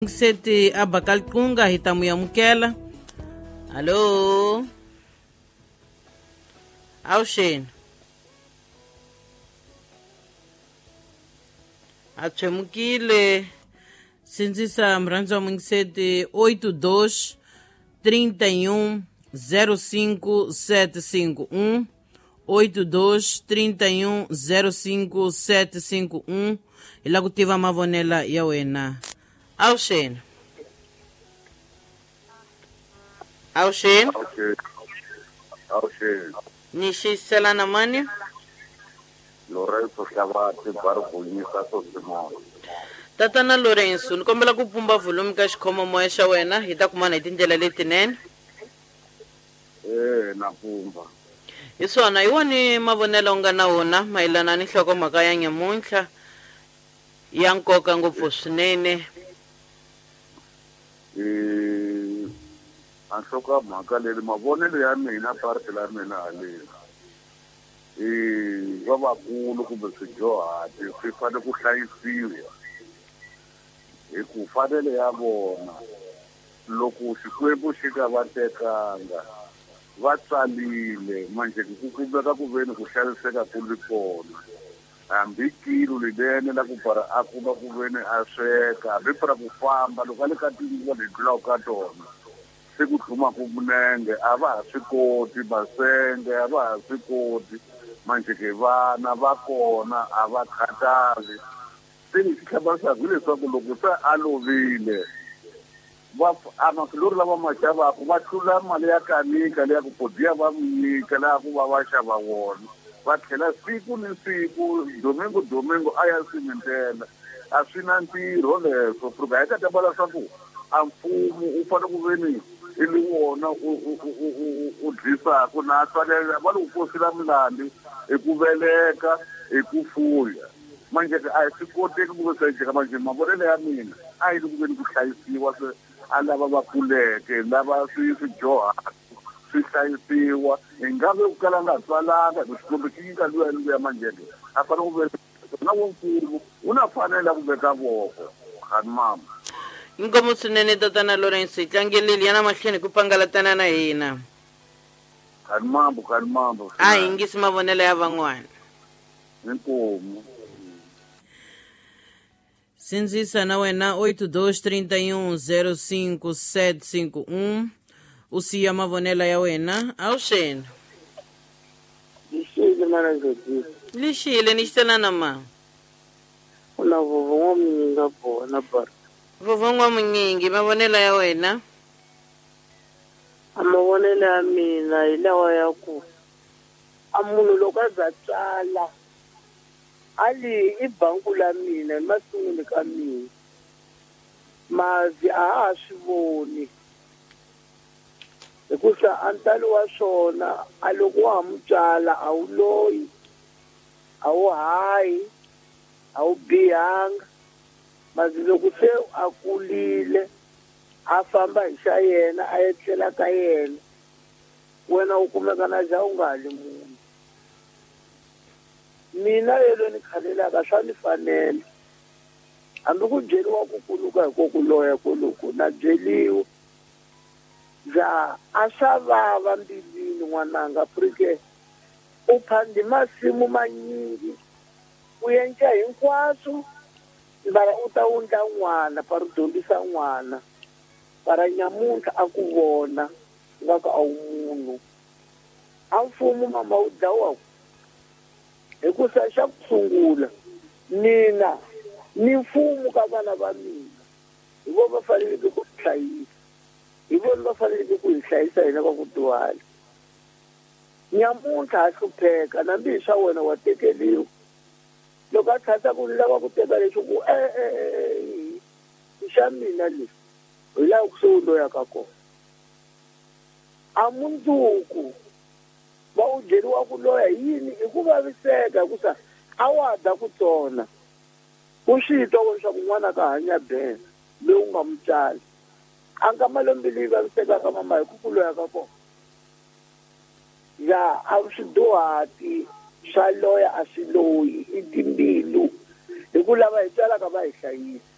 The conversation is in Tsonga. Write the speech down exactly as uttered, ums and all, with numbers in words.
Seti a Bakalkunga hi ta mu amukela. Allo. Avuxeni. A tshemukile sindzisa murhandzi wa mungiseti oito dois trinta e um zero cinco sete cinco um oito dois trinta e um zero cinco sete cinco um hi la ku tiva mavonelo ya wena. Avuxeni. Avuxeni. Avuxeni. Ni xiselana mani? Lorenzo Xavati Barbunyisa Sosimon. Tatana Lorenzo, ni kombela ku pumba volume ka xikhomomoya xa wena hi ta kumana hi tindlela letinene. Eh, na pumba. Hi swona, hi wani mavonelo u nga na wona mayelana ni nhlokomhaka ya nyamuntlha ya nkoka ngopfu swinene. Eh, a nhlokomhaka leri mavonelo ya mina parti la mina haleni. Eh, lavakulu kumbe swidyuhari swi fanele ku hlayisiwa hi ku fanele ya vona loko Xikwembu xi nga va tekanga va tsalile manje ku kumeka ku veni ku xaniseka ku ri kona hambi kilo linene la ku para a kuma ku veni a sweka hambi para ku famba loko a le ka tinguva leti tlulaka ka tona se ku tlhumaka minenge a va ha swi koti masenge a va ha swi koti manje ke vana va kona a va khathali se lexi hlamarisaka hileswaku loko se a lovile va a mafilori lava ma xavaka va tlula mali ya kanika leya ku podiya va mi nyika laha ku va va xava wona va tlhela siku ni siku domingo domingo a ya simentela a swi na ntirho leswo pfuka hi ka ta vula swa ku a mfumo u fanele ku veni i li wona u u u u dlisaka na tswalela va li ku posela milandi hi ku veleka hi ku fuya manje a swi koteki ku ve swi manje mavonelo ya mina a yi li ku veni ku hlayisiwa se a lava va kuleke lava swi swi dyohaka swi hlayisiwa hi nga ve ku kala nga tswalanga hi ku Xikwembu xi nyika luya luya manje a fanele ku ve na wo mfumo wu na fanele ku veka voko khani mama. Inkomu swinene tatana Lorenzo, hi tlangeleli yana mahlweni ku pangalatana na hina. Khani mambo, khani mambo. A hi yingisi mavonelo ya van'wana. Inkomu. Sindzisa na wena oito dois trinta e um zero cinco sete cinco um u siya mavonelo ya wena. Avuxeni. Lixile mana Jodie. Lixile ni xiselana ma. Una vovo n'wamunyingi bona bar. Vovo n'wamunyingi mavonelo ya wena. A mavonelo ya mina hi lawa ya ku a munhu loko a za tswala a li i banku la mina hi masunguli ka mina mavi a ha swi voni hikusa a ntalo wa swona a loko wa ha mu tswala a wu loyi a wu hayi a wu bihanga mazi loko se a kulile a famba hi xa yena a etlela ka yena wena u kumeka na ja u nga hali munhu. Mina yelo ni khalelaka swa ni fanela hambi ku byeriwa ku kuluka hi ko ku loya koloko na byeliwa ja a swa vava mbilwini n'wananga purike u phandi masimu manyingi u endla hinkwaswo mara u ta wundla n'wana para u dyondzisa n'wana para nyamuntlha a ku vona nga ku a wu munhu a mfumo mama wu dlawaku hikusa xa ku sungula mina ni mfumo ka vana va mina hi vona va faneleke ku hlayisa hi vona va faneleke ku hi hlayisa hina va ku dyuhala nyamuntlha ha hlupheka nambi hi swa wena wa tekeliwa loko a tlhata ku lava ku teka leswi ku e-e i xa mina leswi hi laha ku se u loyaka kona a mundzuku va u byeriwa ku loya yini hi ku vaviseka hikusa a wa da ku tsona u swi twa leswaku n'wana ka hanya bena loyi u nga mu tswali a nga malembe leyi vavisekaka mama hi ku ku loya ka kona ya a swidyuhati swa loya a swi loyi i timbilu hi ku lava hi tswalaka va hi hlayisa.